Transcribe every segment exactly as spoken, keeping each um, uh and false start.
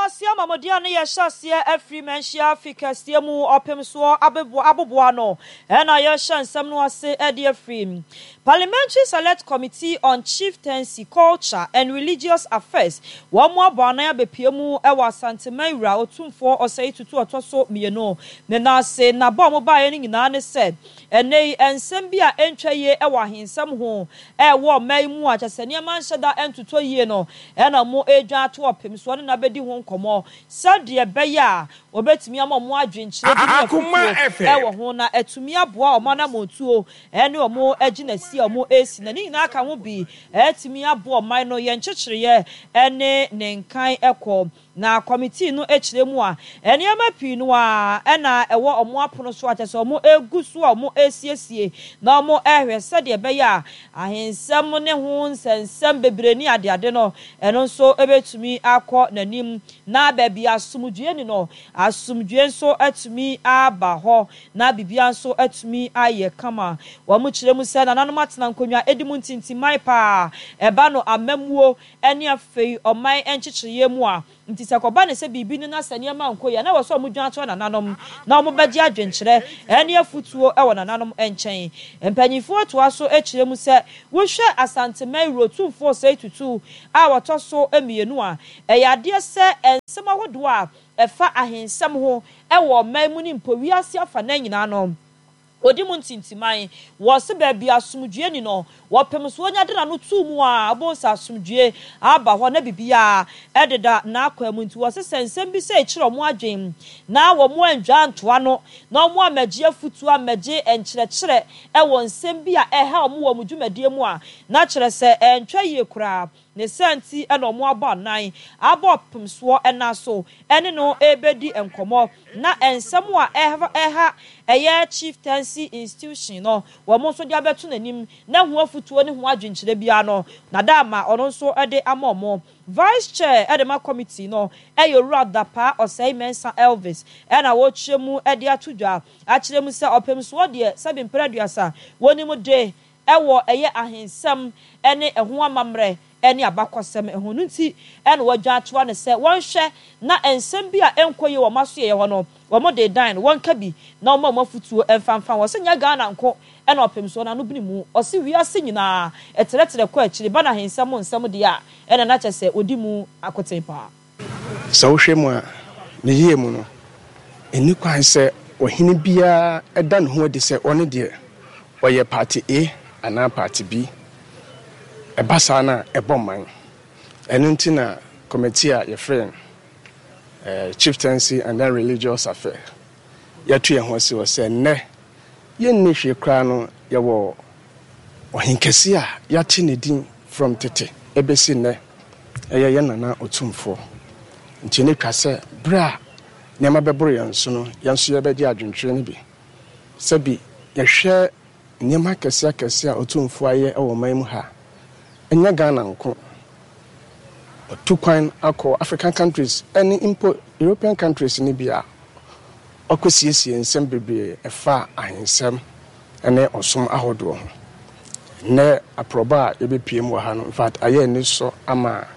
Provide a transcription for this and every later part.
Kumasi amamodeɛ no yɛhyɛ aseɛ afiri Manhyia afi kɛseɛ mu ɔpem soɔ aboboa no ɛna yɛhyɛ nsɛm no ase ɛde afiri Parliamentary Select Committee on Chieftaincy, Culture and Religious Affairs. Wɔn mo abɔ anan abɛpie mu ɛwɔ Asanteman wura Otumfoɔ Ɔsɛe Tutu ɔtɔ so mmienu ne n'ase. Nabɔ a wɔn baeɛ no nyinaa ne sɛ ɛnɛ yi nsɛm bi a ɛntwa yie ɛwɔ ahensɛm ho ɛwɔ ɔman yi mu a kyɛ sɛ nneɛma nhyɛ da ɛntotɔ yie no, ɛna mo edwa ato ɔpem soɔ ne n'abɛdi ho nkɔmɔ sɛdeɛ ɛbɛyɛ a wɔbɛtumi ama ɔmo adwenkyerɛ bi ne afutuo ɛwɔ ho na ɛtumi aboa ɔmo anammɔntuo ɛne ɔmo agyinasi a ɔmo esi, na ne nyinaa ka ho bi ɛtumi aboa ɔman no yɛn nkyekyereɛ ɛne ne nkan ɛkɔ. Na committee no akyerɛ mu a, nneɛma pii no a ɛna ɛwɔ ɔmo apono so a kyerɛ sɛ ɔmo egu so a ɔmo esiesie na ɔmo ɛhwɛ sɛdeɛ ɛbɛyɛ a ahensɛm ne ho nsɛnsɛm bebree ne adeade no, ɛno nso ebɛtumi akɔ n'anim, na baabi asomdue ni no, asomdue nso atumi aba hɔ na biribiara nso atumi ayɛ kama. Wɔn kyerɛ mu sɛ nananom atena nkonnwa edi mu ntintiman paa ɛba no amamuo ɛne afei ɔman nkyekyereɛ mu a, nti sɛ kɔba ne sɛ biribi no na sɛ nneɛma nkɔ yie na wɔ sɛ ɔmo dwan ato nananom na ɔmo bɛgye adwenkyerɛ ɛne afutuo ɛwɔ nananom nkyɛn. Mpanyinfoɔ toa so akyerɛ mu sɛ wohwɛ Asanteman wuro Tumfoɔ Sɛ Tutu a wɔtɔ so mmienu a, ɛyɛ adeɛ sɛ nsɛm ahodoɔ a ɛfa ahensɛm ho ɛwɔ ɔman mu ne mpo wiase afa nan nyinaa no, odi mu ntintiman. Wɔsi baabi asomdue ni no, wɔpem so onya de n'ano tuu mu a, abonsa asomdue aba hɔ na biribiara ɛdeda n'akwan mu. Nti wɔsi sɛ nsɛm bi sɛ ekyerɛ wɔn adwen na wɔn andwa ntoa no na wɔn amagye afutuo, amagye nkyerɛkyerɛ ɛwɔ nsɛm bi a ɛha wɔn wɔ wɔn dwumadie mu a, na kyerɛ sɛ ɛntwa yie koraa ne sɛ nti ɛna wɔn abɔ anan abɔ pem soɔ ɛna so ɛne no ɛrebɛdi nkɔmɔ, na nsɛm a ɛha ɛha ɛyɛ chieftaincy institution no, wɔn nso de abɛto n'anim na ho afutuo ne ho adwenkyerɛ biara no na dama ɔno nso de ama wɔn. Vice chair ɛde ma committee no ɛyɛ Owura Dapaa Ɔsɛe Mɛnsa Elvis, ɛna wɔrekyerɛ mu ɛde ato dwa akyerɛ mu sɛ ɔpem soɔ deɛ, sɛbi mpere aduasa wɔnim de ɛwɔ ɛyɛ ahensɛm ɛne ɛho amammerɛ ɛne abakɔsɛm ɛho no, nti ɛna wɔadwa atoa no sɛ wɔnhwɛ na nsɛm bi a ɛnkɔ yie wɔ wɔn aso yɛ hɔ no, wɔn de dan no wɔnka bi na wɔn a wɔn afutuo ɛmfamfa wɔ sɛ nyɛ Ghana nko ɛna ɔpem soɔ n'ano bini mu. Ɔsi wiase nyinaa ɛtrɛtrɛ kɔ akyiri ba na ahensɛm nsɛm deɛ a, ɛna n'akyɛ sɛ odi mu akoten paa. Sɛ wohwɛ mu a, ne yie mu no, ɛni kwan sɛ ɔhene biara ɛda ne ho adi sɛ ɔne deɛ ɔyɛ party A anaa party B. Ɛba saa no a, ɛbɔ man. Ɛno nti na committee a yɛfrɛ no eh, Chieftaincy and then Religious Affair, yɛto yɛn ho asi hɔ sɛ nnɛ yɛnni hwee koraa no, yɛwɔ ɔhenkɛse a yɛate ne din from tete ɛbɛsi nnɛ, ɛyɛ yɛn nana Otumfoɔ. Nti ne twa sɛ berɛ a nneɛma bɛboro yɛn so no, yɛn nso yɛbɛgye adwentwerɛ no bi. Sɛbi yɛhwɛ nneɛma akɛseɛ akɛseɛ a Otumfoɔ ayɛ wɔ ɔman mu ha, ɛnyɛ Ghana nko, ɔtu kwan akɔ African countries ɛne mpo European countries no bi a ɔkɔsiesie nsɛm bebree ɛfa ahensɛm ɛne ɔsom ahodoɔ ho. Nnɛ aprɔbɔ a yɛbɛpie mu wɔ ha no, in fact, ayɛ ani sɔ ama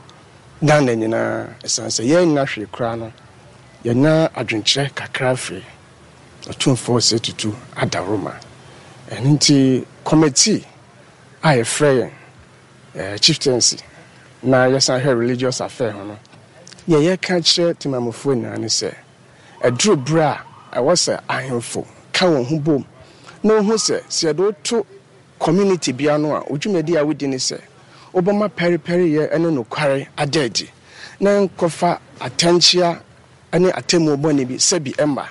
Ghana nyinaa, ɛsiane sɛ yɛn nyina hwee koraa no, yɛnya adwenkyerɛ kakra firi Ɔtumfoɔ Sɛ Tutu adaworoma. Ɛno nti committee a yɛfrɛ yɛn eh, chieftaincy na yɛsan hwɛ religious affair ho no, yɛ yɛka kyerɛ temamufoɔ nyinaa ne sɛ ɛduru berɛ a ɛwɔ sɛ ahemfo ka wɔn ho bom na wohu sɛ sɛ yɛde woto community bia no a, odwumadi a wodi ne sɛ wobɛma pɛrepɛreyɛ ne nokware ada adi na nkɔfa atɛnkyea ne atemmuo bɔne bi sɛbi ɛmma.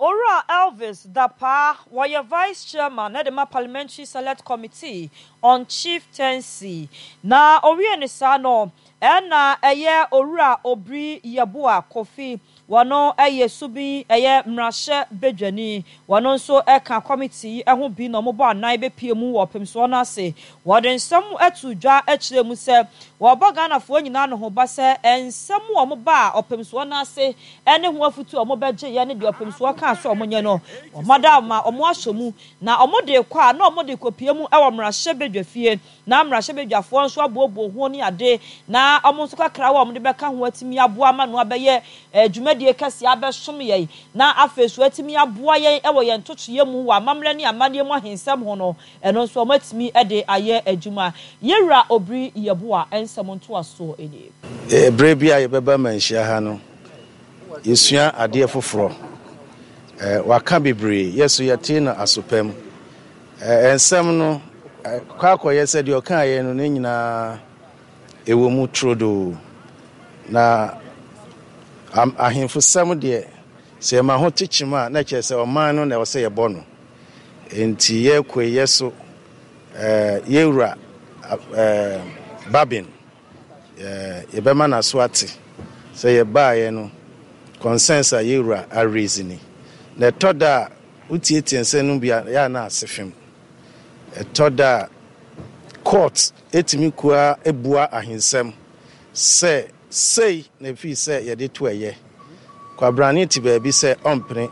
Owura Elvis Dapaa, wɔyɛ vice chairman na de ma Parliamentary Select Committee on Chieftaincy. Na owie ne saa no, ɛna ɛyɛ Owura Obiri Yɛboa Kofi. Wɔno ɛyɛ Subin ɛyɛ mmarahyɛ badwani. Wɔno nso ɛka committee yi ho bi na wɔbɔ anan bɛpie mu wɔ ɔpemsoɔ no ase. Wɔde nsɛm ato dwa akyerɛ mu sɛ wɔbɔ Ghanafoɔ nyinaa no ho ba sɛ nsɛm a wɔba a ɔpemsoɔ no ase ne ho afutu a wɔbɛgye yɛ ne deɛ ɔpemsoɔ kaa sɛ wɔnyɛ no, wɔmada ma wɔn ahyɛ mu na wɔde kɔ a na wɔde kɔpie mu wɔ mmarahyɛ badwa fie, na mmarahyɛ badwafoɔ nso aboaboa ho ne ade na wɔn nso kakra a wɔde bɛka ho atumi aboa ama no abɛyɛ dwumadie kɛseɛ abɛsom yɛn, na afei so atumi aboa yɛn wɔ yɛn ntotoeɛ mu wɔ amammerɛ ne amanneɛ mu ahensɛm ho no, ɛno nso wɔatumi de ayɛ adwuma. Yɛwura Obiri Yeboah nsɛm ntoasoɔ nie. Berɛ bi a yɛbɛba Manhyia ha no, yɛsua adeɛ foforɔ. Waka bebree, yɛ so yɛte no asopam. Nsɛm no kɔ akɔyɛ sɛ deɛ ɔkaeɛ no ne nyinaa ɛwɔ mu turodoo. Na ahemfosɛm deɛ, sɛ yɛma ho kyekyem a, na kyerɛ sɛ ɔman no na ɛwɔ sɛ yɛbɔ no. Nti yɛkɔ yɛ so yɛwura Babin, yɛbɛma n'aso ate sɛ yɛbaeɛ no concerns a yɛwura araise ni. Na ɛtɔ da a wotietie nsɛm no bi a yɛ na ase fam. Ɛtɔ da a court etumi kua ebua ahensɛm sɛ sei na efi sɛ yɛde to ɛyɛ. Kwabrane te baabi sɛ ɔmpene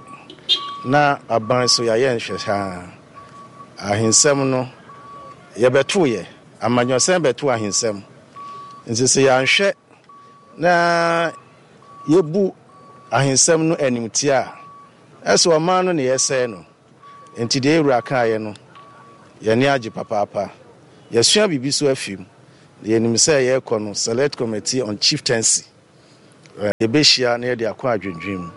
na aban so yɛayɛ nhwɛhaa. Ahensɛm no yɛbɛto yɛ amanyɔsɛm bɛto ahensɛm. Nti sɛ yɛanhwɛ na yɛbu ahensɛm no animtia a, ɛsɛ ɔman no na yɛsɛe no. Nti deɛ ewura kaeɛ no, yɛne agye papaapa. Yɛsua biribi so afi mu. Yɛnim sɛ yɛrekɔ no Select Committee on Chieftaincy. Yɛbɛhyia na yɛde akɔ adwendwen mu.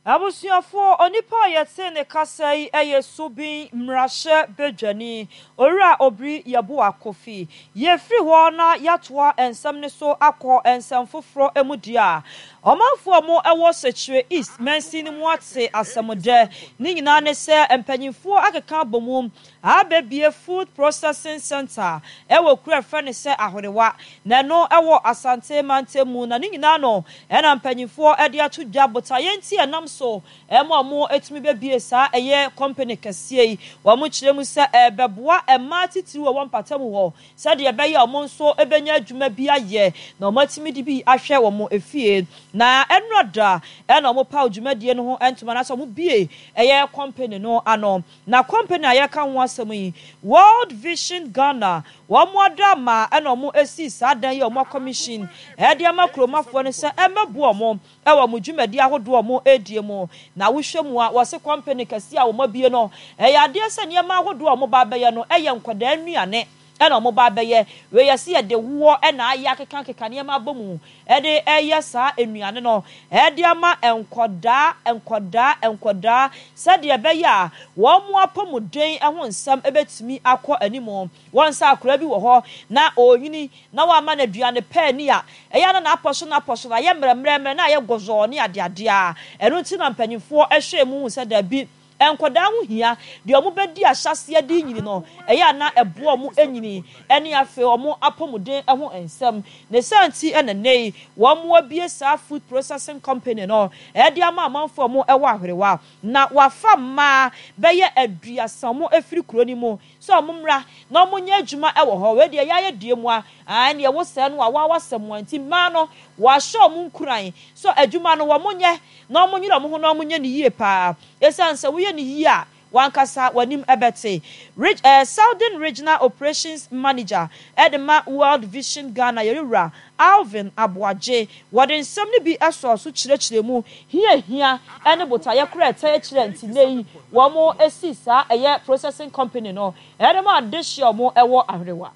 Abusuafoɔ, onipa a yɛte ne kasa yi yɛ Subin mmarahyɛ badwani Owura Obiri Yeboah Kofi. Yɛfiri hɔ na yɛatoa nsɛm no so akɔ nsɛm foforɔ mu deɛ a, ɔmanfoɔ mo ɛwɔ Sekyere East mansin no mu ate asɛmdɛ. Ne nyinaa ne sɛ mpanyinfoɔ akeka abɔ mu abɛbie food processing center ɛwɔ kuro a ɛfrɛ no sɛ Ahorewa, na ɛno ɛwɔ Asante mantam mu. Na ne nyinaa no ɛna mpanyinfoɔ ɛde ato dwa botaeɛ nti ɛnam so ɛma ɔmo etumi bɛbie saa ɛyɛ company kɛseɛ yi. Wɔn kyerɛ mu sɛ ɛbɛboa mmaa titiri wɔ wɔn mpatamu hɔ sɛdeɛ ɛbɛyɛ ɔmo nso ɛbɛnya adwuma bi ayɛ na ɔmo atumi de bi ahwɛ wɔn efie. Na ɛnora da ɛna ɔmo paw dwumadie no ho ntoma na sɛ ɔmo bie ɛyɛ company no ano. Na company a yɛka ho asɛm yi, World Vision Ghana wɔn mo ada ama ɛna ɔmo esi saa dan yi a ɔmo commission ɛde ama kuromafoɔ no sɛ ɛmɛboa ɔmo ɛwɔ mo dwumadi ahodoɔ ɔmo edie mu. Na wohwɛ mu a, wɔse company kɛseɛ a wɔn abie no, ɛyɛ adeɛ sɛ nneɛma ahodoɔ a wɔn ba abɛyɛ no ɛyɛ nkwadaa nnuane ɛna wɔn ba abɛyɛ. Wei yɛsi yɛde woɔ ɛna ayɛ akekakeka nneɛma abɔ mu ɛde ɛyɛ saa nnuane no ɛde ama nkwadaa nkwadaa nkwadaa sɛdeɛ ɛbɛyɛ a wɔn mo apɔmuden ho nsɛm ɛbɛtumi akɔ anim. Wɔn nsa akora bi wɔ hɔ na onyini na wɔama no aduane pɛɛ ni a ɛyɛ na n'apɔ so n'apɔ so na ayɛ mmerɛmmerɛmmerɛ na ayɛ gɔzɔɔ ne adeadeɛ a ɛno nti na mpanyinfoɔ ɛhwɛ mu sɛ dabi, nkwadaa ho hia deɛ wɔn bɛdi ahyɛseɛ de nyini no ɛyɛ ana ɛboa wɔn anyini ɛne afei wɔn apɔmuden ho nsɛm. Ne santi ɛna nne yi wɔn abie saa food processing company no ɛde ama amanfoɔ wɔn ɛwɔ Ahwerewa, na wafa mmaa bɛyɛ aduasa wɔn efiri kuro no mu sɛ wɔn mmra na wɔn nyɛ adwuma ɛwɔ hɔ. Wei deɛ yɛayɛ die mu a ɛne ɛwɔ sɛ no a wɔawa sɛ mu nti mmaa no wɔahyɛ wɔn nkuran so adwuma no wɔn nyɛ na wɔn nyere wɔn ho na wɔn nyɛ ne yie paa, esiane sɛ woyɛ ne yie a wankasa w'anim ɛbɛte. Reg eh, Southern Regional Operations Manager ɛde ma World Vision Ghana, yɛrewura Alvin Aboagye, wɔde nsɛm no bi ɛsɔ so kyerɛkyerɛ mu hia hia ɛne botaeɛ kora ɛtɛ akyerɛ nti nne yi wɔn esi saa ɛyɛ processing company no ɛde ma adehyɛ wɔn ɛwɔ Ahwerewa.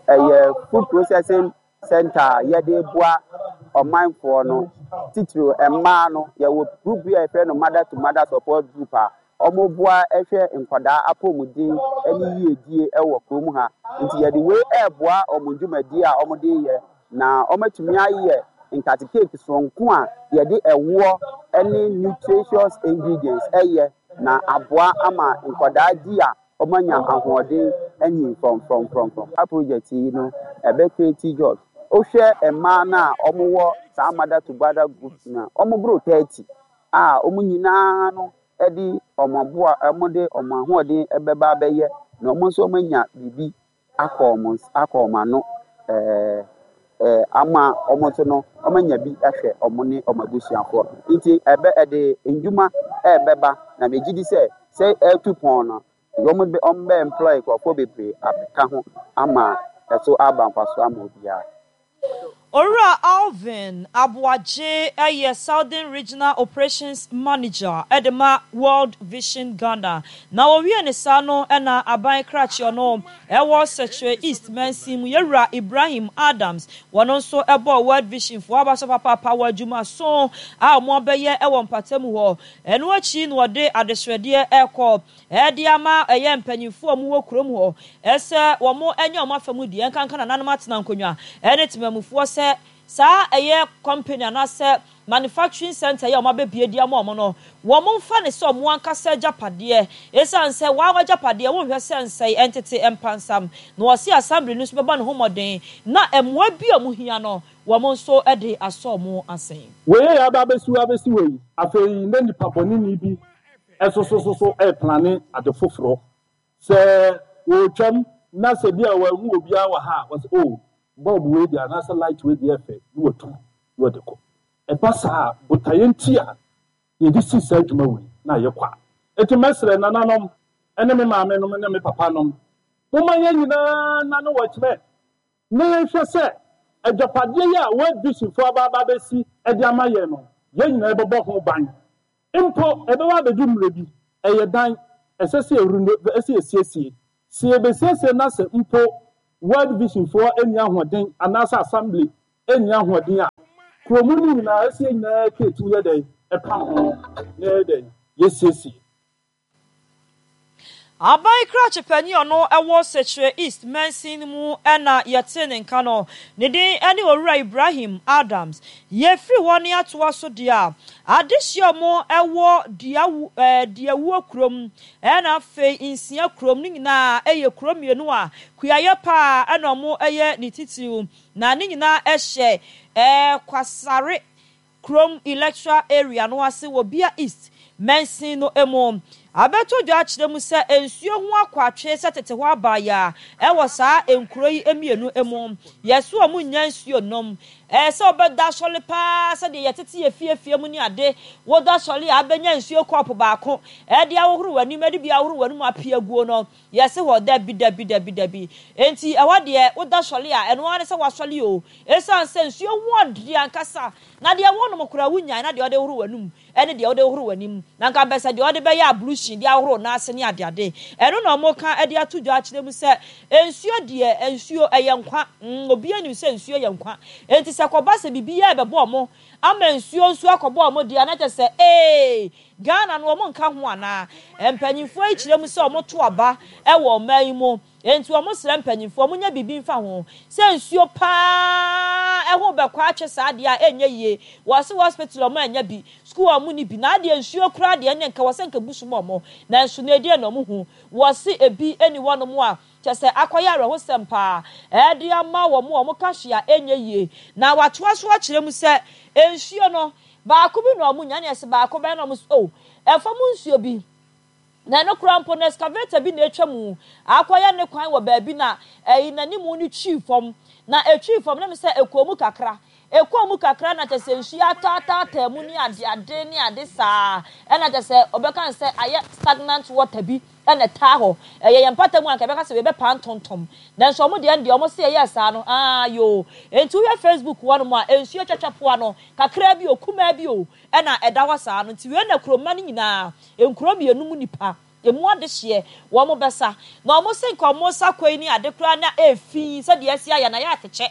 Ɛyɛ food processing center a yɛde boa ɔmanfoɔ no, titiri mmaa no. Yɛwɔ group bi a yɛfrɛ no mother to mother support group a wɔboa hwɛ nkwadaa apɔmuden ne yiedie wɔ kurom ha. Nti yɛde wei ɛreboa wɔn dwumadie a wɔde yɛ na wɔatumi ayɛ nkate cake soronko a yɛde ɛwoɔ ne nutritious ingredients ɛyɛ na aboa ama nkwadaa di a wɔanya ahoɔden anyin frɔmfrɔmfrɔmfrɔm. Saa project yi no ɛbɛ create jobs. Wohwɛ mmaa no a wɔwɔ Saa mother to mother group na wɔn boro thirty a wɔn nyinaa no de wɔn aboa, wɔn de wɔn ahoɔden bɛba abɛyɛ na wɔn nso wɔn anya biribi akɔ wɔn akɔ wɔn ano ɛɛ ɛɛ ama wɔn nso no wɔn anya bi ahwɛ wɔn ne wɔn abusuafoɔ. Nti ɛbɛ ɛde ndwuma ɛɛbɛba na megye di sɛ sɛ ɛɛtu pɔn no, wɔn bɛ wɔn bɛ employ nkurɔfoɔ bebree abɛka ho ama ɛso aba mfaso ama obiara. Owura Alvin Aboagye yɛ Southern Regional Operations Manager de ma World Vision Ghana. Na wɔwie ne saa no na aban krakye no ɛwɔ Sekyere East mansin mu, Yɛwura Ibrahim Adams, wɔn nso bɔɔ World Vision foɔ aba so papaapa wɔ adwumaso a wɔn abɛyɛ wɔ mpatamu hɔ. Ɛno akyi na wɔde adesrɛdeɛ ɛrekɔ ɛde ama ɛyɛ mpanyinfoɔ a wɔwɔ kurom hɔ ɛsɛ wɔn nyɛ wɔn afa mu deɛ, nkanka nananom atena nkonnwa ɛne temamufoɔ sɛ saa ɛyɛ company anaasɛ manufacturing center yɛ wɔn abɛbie di ama wɔn no, wɔn mfa ne sɛ wɔn ankasa agyapadeɛ, ɛsiane sɛ wɔn agyapadeɛ wɔnhwɛ sɛ nsɛe ɛntete mpansam. Na wɔsi assembly no nso bɛbɔ ne ho mmɔden na mmoa bi a wɔn hia no, wɔn nso de asɔ wɔn asen. Wei yɛ aba abɛsi abɛsi wɔ yi. Afei na nipa bɔneni bi ɛsosososo ɛplan ade foforɔ sɛ wɔretwam na sɛ bi a wɔahu obiara wɔ ha a, wɔsɛ, "O, bulb wei deɛ anaasɛ light wei deɛ ɛfɛ," na wɔtu na wɔde kɔ. Ɛba saa, botaeɛ nti a yɛde si saa adwuma wei na ayɛ kwa. Eti mɛsrɛ nananom ɛne me maame nom ne me papa nom, momma yɛn nyinaa nane wɔ kyerɛ na yɛnhwɛ sɛ agyapadeɛ yi a World Vision foɔ aba aba abɛsi ɛde ama yɛn no, yɛn nyinaa bɛbɔ ho ban. Mpo ɛbɛba abɛdu mmerɛ bi, ɛyɛ dan ɛsɛ sɛ yɛreno, ɛsɛ yɛsiesie. Sɛ yɛbɛsiesie na sɛ mpo World Vision foɔ ani ahoɔden anaasɛ assembly ani ahoɔden a, kuromu no nyinaa ɛsɛ yɛn nyinaa keetu yɛ dɛn ɛpam ho na yɛ dɛn yɛsiesie. Aban krakye panyin ɔno ɛwɔ Sekyere East mansin mu ɛna yɛte ne nka no, ne din ɛne Owura Ibrahim Adams. Yɛfiri hɔ ne atoa so deɛ a, adehyia mo ɛwɔ Duawu ɛɛ Duawuo kurom ɛna afei Nsia kurom ne nyinaa ɛyɛ kuro mmienu a kuayɛ paa ɛna ɔmo ɛyɛ ne titiriw, na ne nyinaa ɛhyɛ ɛɛ Kwasare kurom electoral area no ase wɔ Bia East mansin no mu. Abɛto dwa akyerɛ mu sɛ nsuo ho akɔ atwe sɛ tete hɔ abaayɛ a ɛwɔ saa nkuro yi mmienu mu. Yɛso ɔmo nya nsuo nom. Ɛɛ sɛ ɔbɛda asɔre paa sɛdeɛ yɛtete yɛ fiefie mu ne ade, woda asɔre a abɛnya nsuo kɔɔpo baako ɛde ahohoro w'anim, ɛde bi ahohoro w'anim apue aguo no, yɛse hɔ dabi dabi dabi dabi. Enti ɛhɔ deɛ woda sɔre a, ɛno ara ne sɛ wasɔre o, ɛsiane sɛ nsuo ho ɔde ankasa na deɛ wɔnom koraa wonyae, na deɛ ɔde hohoro w'anum ɛne deɛ ɔde hohoro w'anim na nka mpɛ sɛ deɛ ɔde bɛyɛ ablution de ahohoro n'ase ne adeade. Ɛno na ɔmo ka ɛde ato dwa akyerɛ mu sɛ nsuo deɛ, nsuo ɛyɛ nkwa. mm obiara nim sɛ nsuo yɛ nkwa, enti sɛ kɔba sɛ biribi yɛ ɛbɛbɔ ɔmo ama nsuo nso akɔbɔ ɔmo deɛ, na kyerɛ sɛ ee Ghana no ɔmo nka ho anaa. Mpanyinfoɔ yi kyerɛ mu sɛ ɔmo to aba ɛwɔ ɔman yi mu, enti ɔmo srɛ mpanyinfoɔ ɔmo nya biribi nfa ho sɛ nsuo paa ɛho bɛkɔ atwe saa adeɛ a ɛnyɛ yie. Wɔsi hospital ɔmo anya bi, school ɔmo ni bi, na adeɛ nsuo koraa deɛ ne nka wɔsɛ nka bu so ma ɔmo, nanso na ɛdeɛ na ɔmo hu wɔsi ebi ɛni hɔnom a kyɛ sɛ akɔyɛ awerɛhosɛm paa ɛde ama wɔn a wɔn ka hwee a ɛnyɛ yie. Na watoa so akyerɛ mu sɛ nsuo no baako bi na ɔmo nya ne ɛsɛ baako bɛyɛ na ɔmo so o ɛfam nsuo bi na ɛno koraa mpo no excavator bi na atwa mu akɔyɛ ne kwan wɔ baabi na ɛyi n'anim no twi fam na etwi fam na mi sɛ ekɔɔ mu kakra, ekɔɔ mu kakra, na kyɛ sɛ nsuo ataataataa mu ne ade ade ne ade saa, ɛna kyɛ sɛ ɔbɛka sɛ ayɛ stagnant water bi ɛna ɛtaa hɔ. Ɛyɛ yɛn mpata mu anka ɛbɛka sɛ yɛbɛpa ntontom, nanso ɔmo deɛ deɛ ɔmo se ɛyɛ saa no aa yoo. Nti wohwɛ Facebook hɔ nom a, nsuo twatwa poa no kakra bi o, kumaa bi o, ɛna ɛda hɔ saa no. Nti wei na kuroma no nyinaa, nkuro mmienu mu nipa emu adehyeɛ wɔn bɛsa na wɔn se nka wɔn sa kɔ yi ne ade koraa na efi sɛdeɛ esi ayɛ na yɛ atɛkyɛ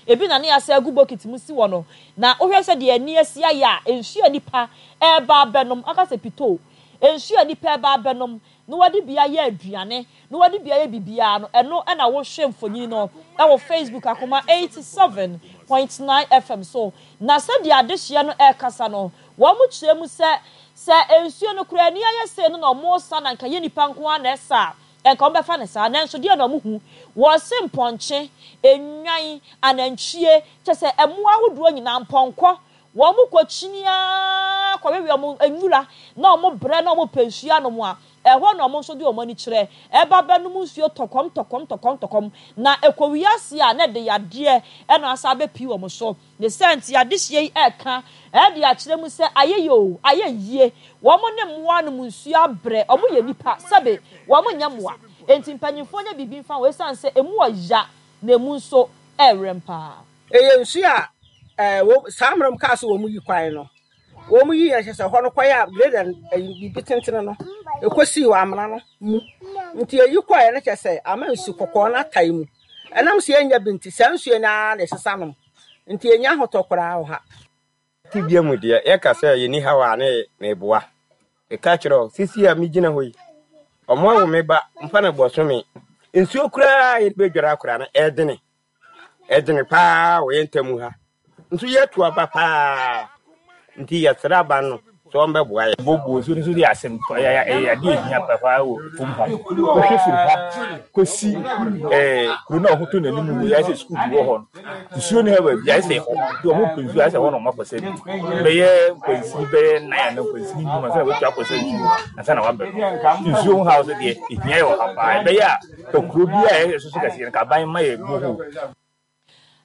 ebi na ne asa agu bokiti mu si wɔ no. Na wohwɛ sɛ deɛ ani asi ayɛ a, nsuo nipa ɛreba abɛnom aka sɛ pito nsuo nipa ɛreba abɛnom na wɔde bi ayɛ aduane na wɔde bi ayɛ biribiara no, ɛno ɛna wohwɛ mfonyin no ɛwɔ Facebook Akoma eighty seven point nine F M so. Na sɛdeɛ adehyeɛ no ɛrekasa no, wɔn kyerɛ mu sɛ sɛ nsuo no koraa ani ayɛ sɛ no na wɔn sa na nka yɛ nipa nko ara na ɛsa a nka wɔbɛfa no saa. Nanso deɛn na wɔhu? Wɔse mpɔnkye, nnwan, anantwie, kyerɛ sɛ mmoa ahodoɔ nyinaa, mpɔnkɔ, wɔkɔkyini ara kɔwewe wɔn nwura na wɔbrɛ na wɔpɛ nsuo anom a, ɛhɔ na wɔn nso de wɔn ani kyerɛ ba bɛnom nsuo tɔkɔm tɔkɔm tɔkɔm tɔkɔm, na ɛkɔwie aseɛ a na ɛde yadeɛ na asan abɛpue wɔn so. Ne saa nti adehyeɛ yi reka de akyerɛ mu sɛ ayɛ yie oo, ayɛ yie, wɔn ne mmoa nom nsuo abrɛ, wɔn yɛ nnipa, sɛbe wɔn nyɛ mmoa, enti mpanyinfoɔ nyɛ biribi mfa ho ɛsiane sɛ ɛmu ɔya na ɛmu nso ɛwerɛm paa. Ɛyɛ nsuo a ɛɛ wɔ saa mmerɛ mu kaa sɛ wɔn yi kwan no, wɔn yi yɛ kyɛ sɛ hɔ no kɔyɛ a grader ɛyi biribi tentene no ɛkɔsii wɔ amena no mu, nti ɛyi kɔɛ no kyɛ sɛ ama nsu kɔkɔɔ no atae mu, ɛnam sɛ yɛnnya bi nti saa nsuo no ara na ɛsesa nom. Nti yɛnnya ahotɔ koraa wɔ ha. Tebea mu deɛ, yɛka sɛ yɛnni haw a ne meboa. Meka kyerɛ wo, seesei a megyina hɔ yi, wɔawo me ba mfa no bɔsome. Nsuo koraa a yɛde bɛdware akora no, ɛdene. Ɛdene paa wɔ yɛn ntam ha. Nso yɛatu aba paa. Nti yɛsrɛ aban no sɛ ɔmbɛboa yɛn. Bobo nsuo no nso yɛ asɛm ɛyɛ ɛyɛ adeɛ ehia paa wɔ kurom ha. Wohwɛ firi ha kɔsi ɛɛ kuro no a wɔto n'anim no yɛ sɛ sukuu bi wɔ hɔ no nsuo no ha baabi ayɛ sɛ ɛhɔ nti wɔn pɛ nsuo ayɛ sɛ ɛhɔ na wɔn akɔsɛ bi bɛyɛ nkwansini bɛyɛ nan anaa nkwansini nnum ansa na wɔatwa akɔsɛ nsuo ansa na wɔaba no nsuo ho haw so deɛ ehia yɛ wɔ ha paa ɛbɛyɛ a kuro bi a ɛyɛ soso kɛseɛ no kaban ma yɛ bohol.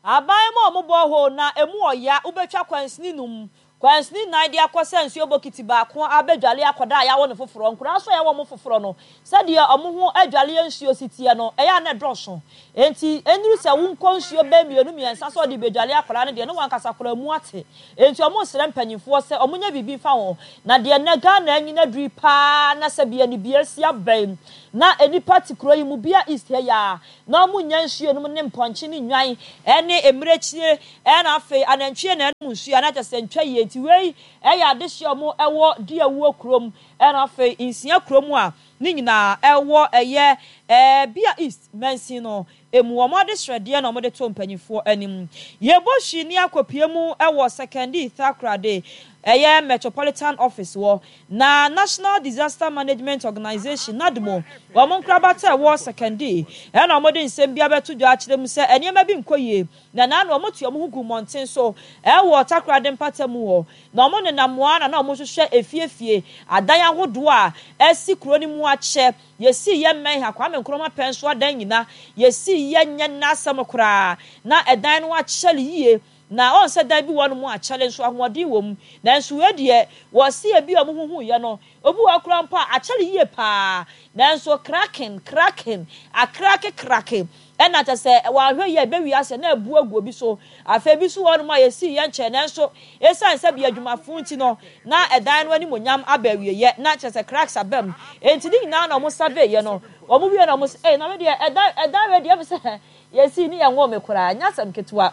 Aban mu a wɔn borehole na emu ɔya wobɛtwa kwansini num Kwansini nnan de akɔ sɛ nsuo bokiti baako abɛdwale akwadaa a yɛawo no foforɔ. Nkwadaa nso a yɛawo wɔn foforɔ no, sɛdeɛ wɔn ho adwaleɛ nsuo si teɛ no, ɛyɛ a na ɛdɔɔso. Enti ɛnnuru sɛ wonkɔ nsuo bɛyɛ mmienu mmiɛnsa sɛ wɔde rebɛdwale akwadaa no deɛ, na wɔn ankasa koraa mu ate. Enti wɔresrɛ mpanimfoɔ sɛ wɔnyɛ biribi mfa ho. Na deɛ nnɛ Ghana anyin aduru yi pa ara na sɛbi anibue asi abɛn na nnipa te kuro yi mu, bia East ha yi ara, na wɔnnya nsuo nom ne mpɔnkye ne nnwan ne mmirekyie Ɛna afei anantwie na ɛnom nsuo a na kyerɛ sɛ ntwa yie nti wei ɛyɛ adehyeɛ a wɔn ɛwɔ Duawuo kurom ɛna afei Nsia kurom a ne nyinaa ɛwɔ ɛyɛ ɛɛ Bia East mansin no ɛmu wɔn adesrɛdeɛ na wɔn de to mpanyinfoɔ anim. Yɛbɔ hwi ne akɔpie mu ɛwɔ Sekondi Takoradi ɛyɛ Metropolitan Office wɔ na National Disaster Management Organization, NADMO, wɔn nkorabata ɛwɔ Sekondi ɛna wɔn de nsɛm bi abɛto dwa akyerɛ mu sɛ nneɛma bi nkɔ yie Na na na wɔte wɔn ho gu mmɔnten so wɔ Takoradi mpatamu hɔ, na wɔnenam hɔ ara na na wɔhwehwɛ afie afie, adan ahodoɔ a asi kuro no mu akyɛ. Yɛsii yɛn mmɛn ha, Kwame Nkrumah pɛn so adan nyina, yɛsii yɛ nyɛ nnɛ asɛm koraa. Na ɛdan no akyɛre yie, na ɔn sɛ dan bi wɔ hɔnom a akyɛre nso ahoɔden wɔ mu, nanso wei deɛ wɔsi ebi a wɔhuhuiɛ no, obi wɔ hɔ koraa mpo a akyɛre yie pa ara, nanso kraken, kraken, akrake krake, Ɛna kyerɛ sɛ wanhwɛ yie a ɛbɛwie aseɛ na abu agu obi so. Afei bi nso wɔ hɔnom a yɛsii yɛn nkyɛn nanso ɛsiane sɛ bia adwumafo nti no na ɛdan no animuonyam aba awieɛ na kyerɛ sɛ cracks aba mu. Enti ne nyinaa na wɔn survey yɛ no wɔn wie na wɔn se ei na me deɛ ɛdan ɛdan wei deɛ ɛfiri sɛ yɛsii ne yɛnwoo me koraa ɛnyɛ asɛm ketewa.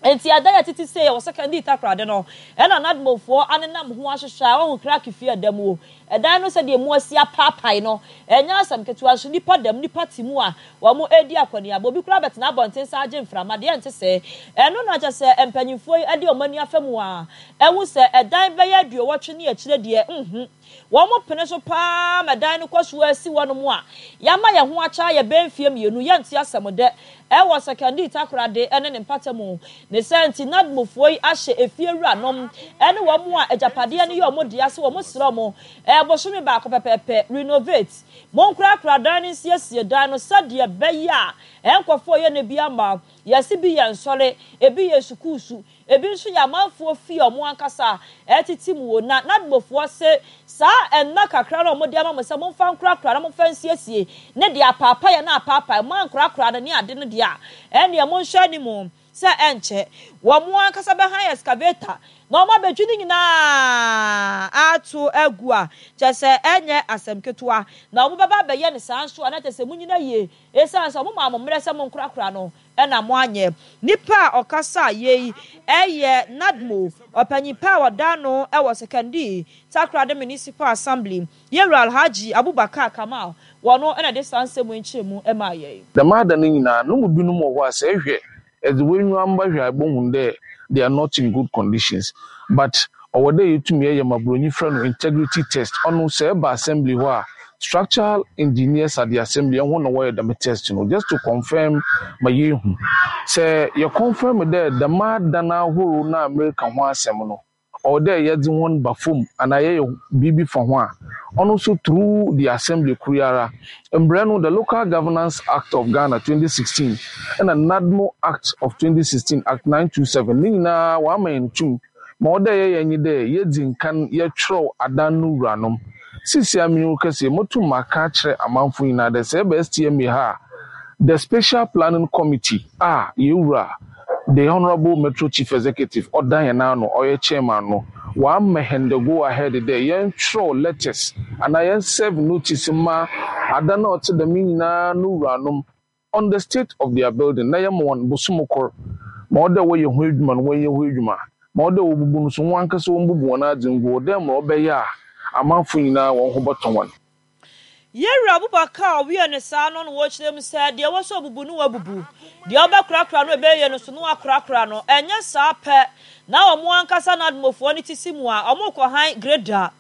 Enti ada yɛ tete sei wɔ Sekandi Takoradi no, ɛna Nadmofoɔ anenam ho ahwehwɛ a wɔahu Krake fie a ɛda mu o. Ɛdan no sɛdeɛ emu asi apaapae no, ɛnyɛ asɛm ketewa nso nnipa da mu, nnipa te mu a wɔredi akɔneaba. Obi koraa bɛtena abɔnten san agye mframa, deɛ ɛnte sɛɛ. Ɛno na kyerɛ sɛ mpanimfoɔ yi de wɔn ani afa mu a ahu sɛ ɛdan bɛyɛ aduowɔtwe ne akyire deɛ, nhu. Wɔpene so pa ara ma dan no kɔ so ara si hɔnom a yɛama yɛn ho akyɛ ayɛ bɛyɛ mfeɛ mmienu, yɛnte asɛm dɛ wɔ Sekandi Takoradi ne ne mpatamu. Ne saa nti, NADMOfoɔ yi ahyɛ efie wuranom ne wɔn a agyapadeɛ no yɛ wɔn dea sɛ wɔsrɛ wɔn bosome baako pɛpɛɛpɛ, renovate, monkorakora dan no nsiesie dan no sɛdeɛ ɛbɛyɛ a nkurɔfoɔ yɛ no bi ama. Yɛse bi yɛ nsɔre, ebi yɛ sukuusu, Ebi nso yɛ amanfoɔ fie a wɔn ankasa tete mu o. Na Nadmofoɔ se saa nna kakra no a wɔde ama mo sɛ momfa nkorakora na momfa nsiesie ne deɛ apaapaeɛ na apaapae, moankorakora no ne ade no deɛ a, ɛnneɛ monhwɛ anim sɛ ɛnkyɛ wɔn ankasa bɛhan excavator na wɔabɛdwi ne nyinaa ato agu a kyerɛ sɛ ɛnyɛ asɛm ketewa. Na wɔbɛba abɛyɛ no saa nso a na kyerɛ sɛ monyina yie esiane sɛ wɔmaa mo mmerɛ sɛ monkorakora no na moanyɛ. Nipa a ɔkasaa yei yɛ NADMO ɔpanyin pa a ɔda ano wɔ Sekondi Takoradi Municipal Assembly, Yewura Alhaji Abubakar Kamal, wɔno na ɛde saa nsɛm yi nkyerɛmu maa yɛn. Dɛm adan no nyina, no mu binom wɔ hɔ a sɛ ehwɛ, edze w'enyiwa mba hwɛ a ebohu dɛ they are not in good conditions. But ɔwɔ dɛ yetum yɛyɛ ma Buronyi frɛ no integrity test. Ɔno sɛ eba assembly hɔ a, Structural engineers at the assembly ɛho na wɔyɛ dɛm test no just to confirm ma yɛhu sɛ yɛ confirm dɛ dɛm adan ahorow na America ho asɛm no, ɔwɔ dɛ yɛdze wɔn ba fam anaa yɛyɛ biribi fa ho a, ɔno nso through the assembly koro ara. Mbrɛ no, the Local Governance Act of Ghana twenty sixteen ɛna NADMO Act of twenty sixteen, Act nine two seven, ne nyinaa wɔama yɛn tum ma ɔwɔ dɛ yɛyɛ nye dɛ yɛdzi nkan yɛtwerɛw adan no wuranom. Sisi amenyu kɛseɛ motum aka akyerɛ amanfo nyinaa dɛ sɛ ɛba S T M A ha a, the Special Planning Committee a yɛwura the Honourable Metro Chief Executive ɔda yɛn ano ɔyɛ chairman no, wama hɛn the go ahead dɛ yɛntwerɛw letters anaa yɛn serve notice ma adan a ɔte dɛm nyinaa no wuranom on the state of their building, na yɛma wɔn bosom kor ma ɔdɛ wɔyɛ ho adwuma no, wɔnyɛ ho adwuma ma ɔdɛ wɔbubu no so, wɔn ankasa wɔn bubu wɔn adze ngu hɔ dɛ ma ɔbɛyɛ a amanfo nyinaa wɔn ho bɔtɔ wɔn. Yɛwura Abubakar a ɔwiɛ ne saa no no wɔkyerɛ mu sɛ deɛ ɛwɔ sɛ ɔbubu no wabubu, deɛ ɔbɛkorakora no ɛbɛyɛ no so no wakorakora no. Ɛnyɛ saa pɛ na wɔn ankasa NADMOfoɔ no ti si mu a wɔn kɔ han grader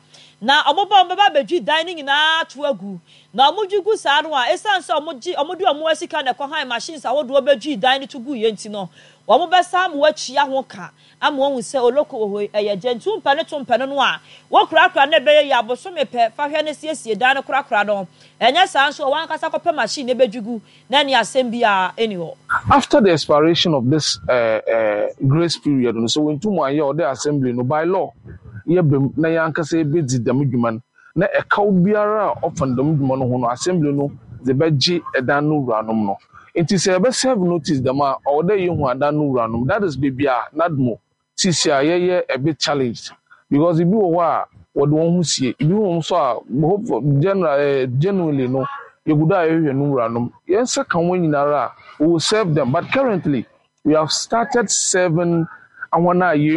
na wɔn ba wɔn bɛba abɛdwi dan no nyinaa to agu, na wɔn dwi gu saa no a, ɛsiane sɛ wɔn gye wɔn de wɔn asika na ɛkɔ han machines ahodoɔ bɛdwi dan no to gu yɛ nti no, wɔn bɛsa ama wɔakyia ho ka ama wɔn sɛ oloko wɔ hɔ yi ɛyɛ gye ntu mpɛ ne to mpɛ no no a wɔkurakura no ɛbɛyɛ yɛ abosome pɛ fa hwɛ ne siesie dan no korakora no. Ɛnyɛ saa nso a, wɔn ankasa kɔpɛ machine na ɛbɛdwi gu na ɛne asɛm biara ɛni hɔ. After the expiration of this uh, uh, grace period no, so wɔntum anyɛ ɔde assembly no by law yɛbɛm na yɛn ankasa yɛbɛdzi dɛm dwuma no, na ɛkaw biara a ɔfa dɛm dwuma no ho no, assembly no dze bɛgye ɛdan no wuranom no. Nti sɛ yɛbɛ serve notice dɛm a, ɔwɔ dɛ yɛhu adan no wuranom. That is baabi a NADMO sisi a yɛyɛ a bit challenged, because ebi wɔ hɔ a wɔde wɔn ho sie, ebi wɔ nso a hope for general eh, genuinely no yɛgu do a yɛhwehwɛ no wuranom. Yɛn nsa ka wɔn nyinara a, we will serve them, but currently we have started serving ahɔn a yɛn